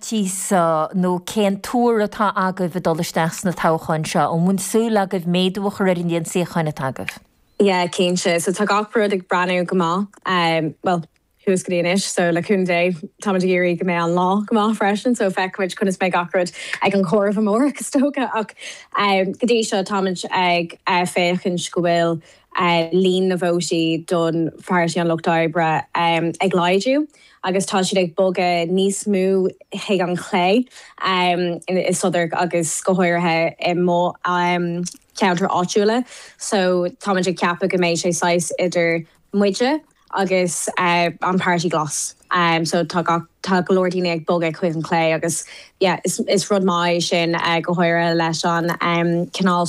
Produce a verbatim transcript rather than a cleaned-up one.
pháirtí-sa nó cén tuar atá agaibh ag dul isteach sna toghcháin seo, an bhfuil súil agaibh méadú a chur ar an líon suíocháin atá agaibh? Yeah, cinnte, so tá gach rud ag breathnú go maith. Um, well, thuas go dtí anois, so le cúnamh Dé táimid ag iarraidh go mbeidh an lá go maith freisin, so feicfimid conas beidh gach rud ag an chomhaireamh amárach is dócha ach um, go dtí seo táimid ag uh, féachaint go bhfuil uh, líon na vótaí don Pháirtí an Lucht Oibre um, ag laghdú agus tá siad ag bogadh níos mó chuig an chlé um, i Southwark agus go háirithe i mo um, ceantar áitiúla, so táimid ag ceapadh go mbeidh sé saghas idir muide agus uh, an Páirtí Glas. Um, so tá tá go leor daoine ag bogadh chuig an chlé agus yeah, is, is rud maith sin uh, go háirithe leis an um, cineál